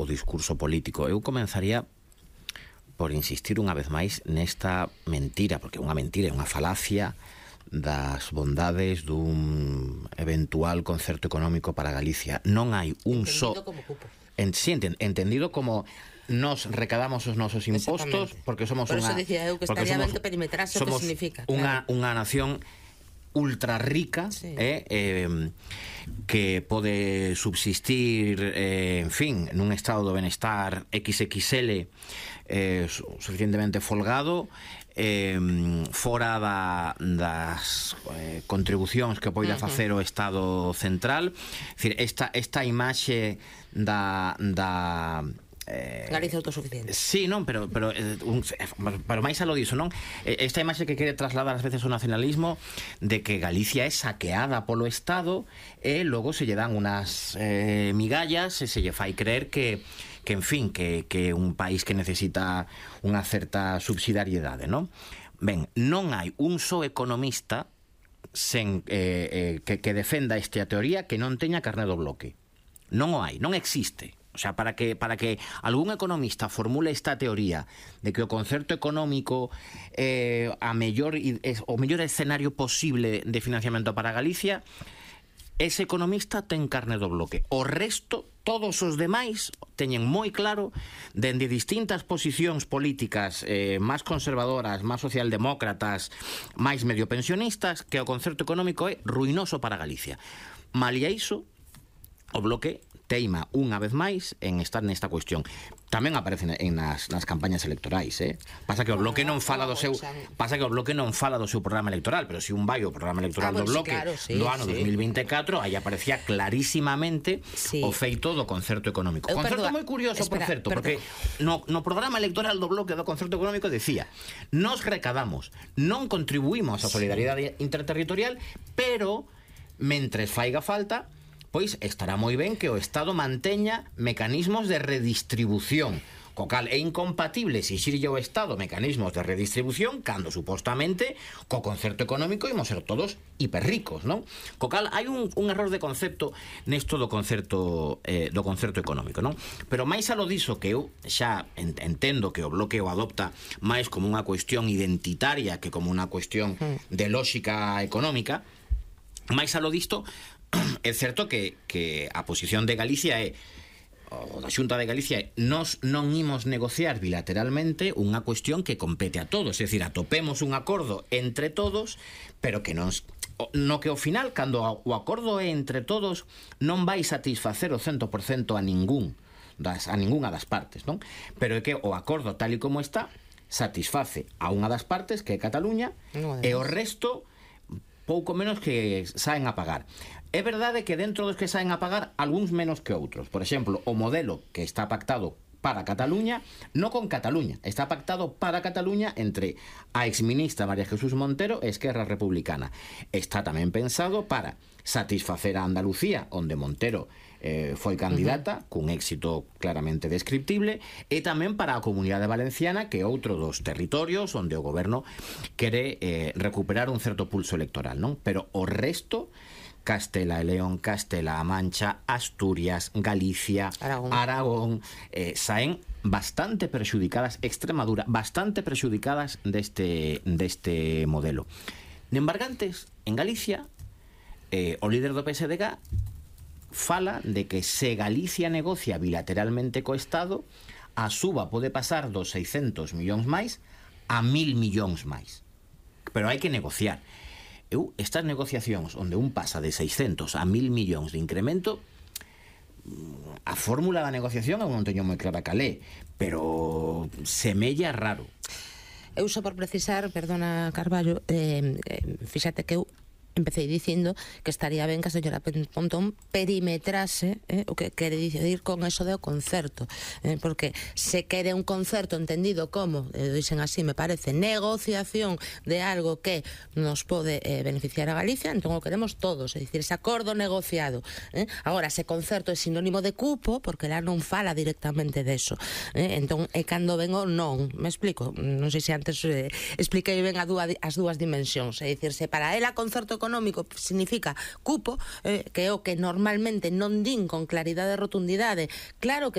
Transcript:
discurso político. Eu comenzaría por insistir unha vez máis nesta mentira, porque é unha mentira, é unha falacia das bondades dun eventual concerto económico para Galicia. Non hai un só... Entendido como cupo. Entendido como nos recadamos os nosos impostos porque somos por unha... Por eso dicía eu que estaría ben que perimetrase o que significa. Unha nación ultra rica, sí, que pode subsistir, en fin, nun estado do benestar XXL, suficientemente folgado, fora das contribucións que poida facer o Estado central. É dicir, esta imaxe da Galicia autosuficiente. Sí, non, pero máis alo diso, non? Esta imaxe que quere trasladar ás veces o nacionalismo de que Galicia é saqueada polo Estado e logo se lle dan unas migallas e se lle fai creer que en fin, que é un país que necesita unha certa subsidiariedade, non? Ben, non hai un só economista que defenda esta teoría que non teña carné do bloque. Non o hai, non existe. O sea, para que algún economista formule esta teoría de que o concerto económico o mellor escenario posible de financiamento para Galicia, ese economista ten carne do bloque. O resto, todos os demais, teñen moi claro, dende distintas posicións políticas máis conservadoras, máis socialdemócratas, máis mediopensionistas, que o concerto económico é ruinoso para Galicia. Malia iso, o bloque teima unha vez máis en estar nesta cuestión. Tamén aparece nas campañas electorais, Pasa que o bloque non fala do seu programa electoral, pero se un vai ao programa electoral do bloque do ano 2024, aí aparecía clarísimamente o feito do concerto económico. Concerto moi curioso, por certo, porque no programa electoral do bloque do concerto económico decía: nos recadamos, non contribuímos á solidaridade interterritorial, pero mentres faiga falta, pois estará moi ben que o Estado manteña mecanismos de redistribución, co cal é incompatible exixirlle ao Estado mecanismos de redistribución cando supostamente co concerto económico imos ser todos hiperricos, non? Co cal hai un error de concepto nesto do concerto económico, non? Pero máis alo diso, que eu xa entendo que o bloque o adopta máis como unha cuestión identitaria que como unha cuestión de lógica económica, máis alo disto, é certo que a posición de Galicia o da Xunta de Galicia nos non imos negociar bilateralmente unha cuestión que compete a todos, é dicir, atopemos un acordo entre todos, pero que no que ao final, cando o acordo é entre todos, non vai satisfacer o 100% a ningunha das partes, non? Pero é que o acordo tal e como está satisface a unha das partes, que é Cataluña, e o resto pouco menos que saen a pagar. É verdade que dentro dos que saen a pagar, algúns menos que outros. Por exemplo, o modelo que está pactado para Cataluña, non con Cataluña, está pactado para Cataluña entre a exministra María Jesús Montero e Esquerra Republicana. Está tamén pensado para satisfacer a Andalucía, onde Montero foi candidata, cun éxito claramente descriptible, e tamén para a Comunidade Valenciana, que é outro dos territorios onde o goberno quere recuperar un certo pulso electoral, non? Pero o resto, Castela e León, Castela-A Mancha, Asturias, Galicia, Aragón, saen bastante perxudicadas, Extremadura, bastante perxudicadas deste modelo. De embargantes, en Galicia, o líder do PSDG fala de que se Galicia negocia bilateralmente co Estado, a suba pode pasar dos 600 millóns máis a 1000 millóns máis. Pero hai que negociar. Estas negociacións onde un pasa de 600 a 1000 millóns de incremento, a fórmula da negociación eu non teño moi clara calé, pero semella raro. Eu só por precisar, perdona Carballo, fíxate que eu empecé dicindo que estaría ben que a señora Pontón perimetrase o que quere dicir con eso do concerto, porque se quere un concerto entendido como, dicen así, me parece, negociación de algo que nos pode beneficiar a Galicia, entón o queremos todos, é dicir, ese acordo negociado. Agora, ese concerto é sinónimo de cupo, porque lá non fala directamente deso, entón é cando vengo non, me explico, non sei se antes expliquei ben as dúas dimensións, é dicir, se para ela concerto económico significa cupo, que é o que normalmente non din con claridade e rotundidade, claro que